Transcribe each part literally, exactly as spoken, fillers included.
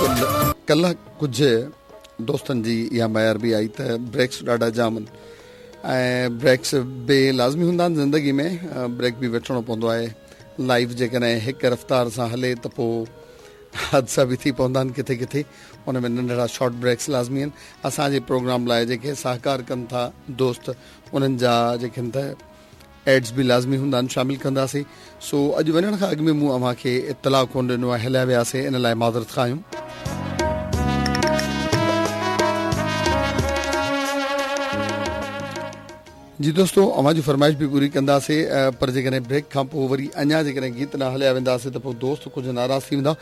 बिल्कुलु कल्ह कुझु दोस्तनि जी इहा मयार बि आई त ब्रेक्स ॾाढा जाम आहिनि ऐं ब्रेक्स बि लाज़मी हूंदा आहिनि ज़िंदगी में, ब्रेक बि वठिणो पवंदो आहे। लाइफ जेकॾहिं हिकु रफ़्तार सां हले त पोइ हादसा बि थी पवंदा आहिनि किथे किथे, उन में नंढड़ा शॉर्ट ब्रेक्स लाज़मी आहिनि। असांजे प्रोग्राम लाइ जेके सहकार कनि था दोस्त, उन्हनि जा जेके आहिनि त एड्स बि लाज़मी हूंदा आहिनि, शामिल कंदासीं। सो अॼु वञण खां अॻु में मूं अव्हां खे इतलाउ कोन ॾिनो आहे, हलिया वियासीं, इन लाइ माज़रत खां आहियूं। जी दोस्तों, अव्हां जी फरमाइश बि पूरी कंदासीं, पर जेकॾहिं ब्रेक खां पोइ वरी अञा जेकॾहिं गीत न हलिया वेंदासीं त पोइ दोस्त कुझु नाराज़ थी वेंदा।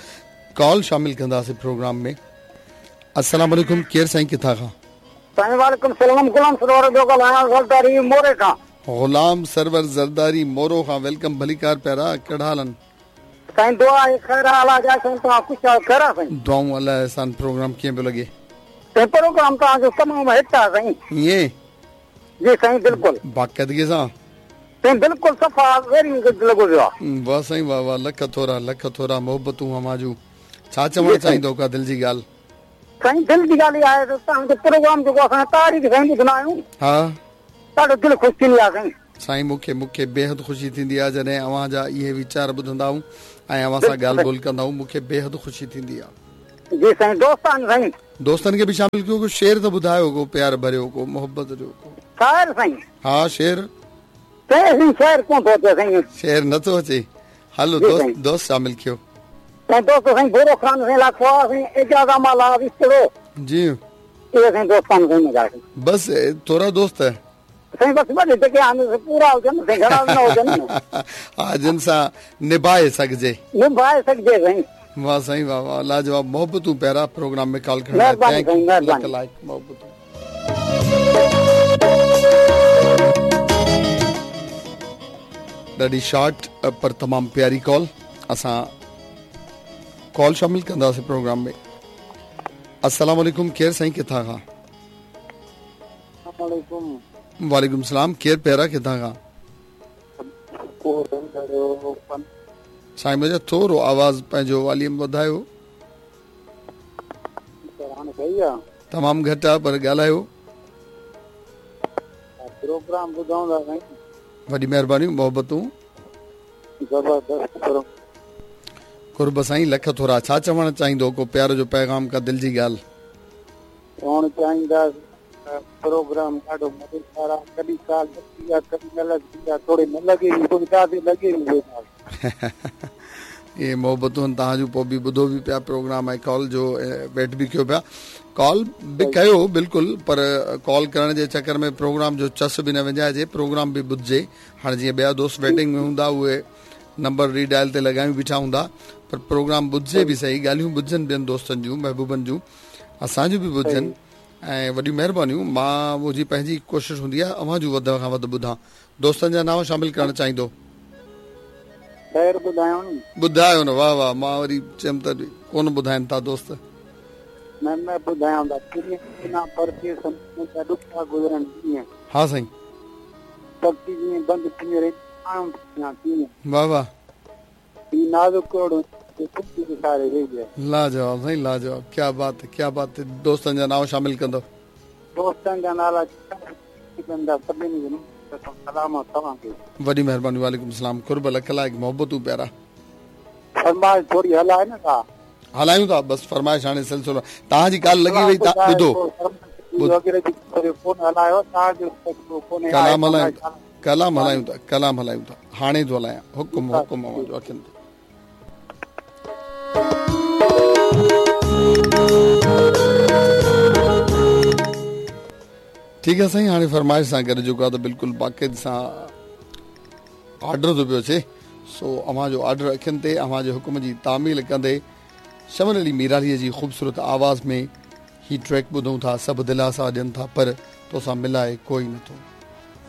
कॉल शामिल कंदासीं प्रोग्राम में। अस्सलाम वालेकुम, केरु साईं किथां खां? साईं वालेकुम सलाम, गुलाम सरवर जो ॻाल्हायां ज़रदारी मोरे खां। गुलाम सरवर ज़रदारी मोरो खां, welcome, भलीकार प्यारा, कहिड़ा हाल आहिनि? साईं दुआ आहे ख़ैर अलाह जा, साईं तव्हां ख़ुशि आहियो? ख़ैर आहे साईं। दुआऊं अलाह एहसान। प्रोग्राम कीअं पियो लॻे? साईं प्रोग्राम तव्हांजो तमामु हिट आहे साईं। ईअं? जी साईं बिल्कुलु बाक़ाइदगी सां साईं, बिल्कुलु सफ़ा वेरी गुड लॻो पियो आहे। वाह साईं वाह वाह, लख थोरा लख थोरा, मोहबतूं अव्हां जूं। छा चवणु चाहींदो, का दिलि जी ॻाल्हि? साईं दिलि जी ॻाल्हि इहा आहे त तव्हांजो प्रोग्राम जेको असां तारीख़ साईं ॿुधंदा आहियूं, हा, ॾाढो दिलि ख़ुशि थींदी आहे साईं। साईं मूंखे मूंखे बेहद ख़ुशी थींदी आहे जॾहिं अव्हां जा इहे वीचार ॿुधंदा आहियूं ऐं अव्हां सां ॻाल्हि ॿोल कंदा आहियूं, मूंखे बेहद ख़ुशी थींदी आहे। जी साईं, दोस्त आहिनि साईं। दोस्तनि खे बि शामिल कयो, को शेर त ॿुधायो, को प्यार भरियो, को मोहबत जो, को शायर साईं। हा शेर साईं, शेर कोन थो अचे साईं, शेर नथो अचे। हलो दोस्त, दोस्त शामिल कयो। साईं दोस्त साईं भोरो खान साईं लाखो साईं एजाज़ माला विस्तड़ो जी, इहे साईं दोस्त आहिनि साईं मुंहिंजा। बस थोरा दोस्त है साईं, बस वॾे जेके आहिनि पूरा हुजनि साईं, घणा न हुजनि। हा, जिन सां निभाए सघिजे, निभाए सघिजे साईं। वाह साईं वाह वाह, लाजवाब, मोहबतूं प्यारा। प्रोग्राम में कॉल करण महिरबानी साईं, महिरबानी, लाइक मोहबतूं। ॾाढी शॉर्ट पर तमामु प्यारी कॉल। असां कॉल शामिल कंदासीं प्रोग्राम में। अस्सलाम वालेकुम, केरु साईं किथां खां? वालेकुम सलाम, केरु प्यारा किथां खां? साईं मुंहिंजो थोरो आवाज़ पंहिंजो वॉल्यूम वधायो। तमामु घटि आहे पर ॻाल्हायो। प्रोग्राम ॿुधूं था साईं। वॾी महिरबानी, मोहबतूं। ज़बरदस्त कुर्ब साईं, लख थोरा। छा चवणु चाहींदो, को प्यार जो पैगाम, का दिलि जी ॻाल्हि? चवणु चाहींदा प्रोग्राम ॾाढो मज़ेदार आहे, कॾहिं काल लॻी आहे, कॾहिं न लॻी आहे, थोरी न लॻे बि, काफ़ी लॻे बि। इहे मोहबतूं आहिनि तव्हां जूं, पोइ बि ॿुधो बि पिया प्रोग्राम ऐं कॉल जो वेट बि कयो पिया। कॉल बि कयो बिल्कुलु, पर कॉल करण जे चक्कर में प्रोग्राम जो चस बि न वञाइजे, प्रोग्राम बि ॿुधजे। हाणे जीअं ॿिया दोस्त वेटिंग में हूंदा, उहे नंबर रीडायल ते लॻायूं बीठा हूंदा, पर प्रोग्राम ॿुधजे बि सही, ॻाल्हियूं ॿुधजनि ॿियनि दोस्तनि जूं, महबूबनि जूं, असांजूं बि ॿुधजनि। ऐं वॾियूं महिरबानियूं। मां मुंहिंजी पंहिंजी कोशिशि हूंदी आहे अव्हां जूं वध खां वधि ॿुधां। दोस्तनि जा नाम शामिल करणु चाहींदो? ॿुधायो न, ॿुधायो न। वाह वाह, मां वरी चयमि त कोन ॿुधाइनि था दोस्त। न न ॿुधायां था। हा साईं, वाह वाह, लाजवाब साईं, लाजवाब, क्या बात है, क्या बात है। दोस्तनि जा नाम शामिल कंदो? दोस्तनि जा नाला सभिनी सलाम तव्हांखे। वॾी महिरबानी, वालेकुम सलाम। कुर्ब, लख लाइक़, मोहबतूं प्यारा। फरमाइश थोरी हलाए न था? हलायूं था, बसि फरमाइश हाणे सिलसिलो तव्हांजी ॻाल्हि लॻी वई। ॿुधो, कलाम हलायूं था, कलाम हलायूं था, कलाम हलायूं था, हाणे थो हलायां। हुकुम हुकुम अव्हांजो अखियुनि ते। ठीकु आहे साईं, हाणे फरमाइश सां गॾु जेको आहे त बिल्कुलु बाक़ाइदे सां आर्डर थो पियो अचे। सो अव्हांजो आर्डर अखियुनि ते, अव्हांजे हुकुम जी तामील कंदे शमन अली मीरालीअ जी ख़ूबसूरत आवाज़ में ही ट्रैक ॿुधूं था। सभु दिलासा ॾियनि था पर तोसां मिलाए कोई नथो।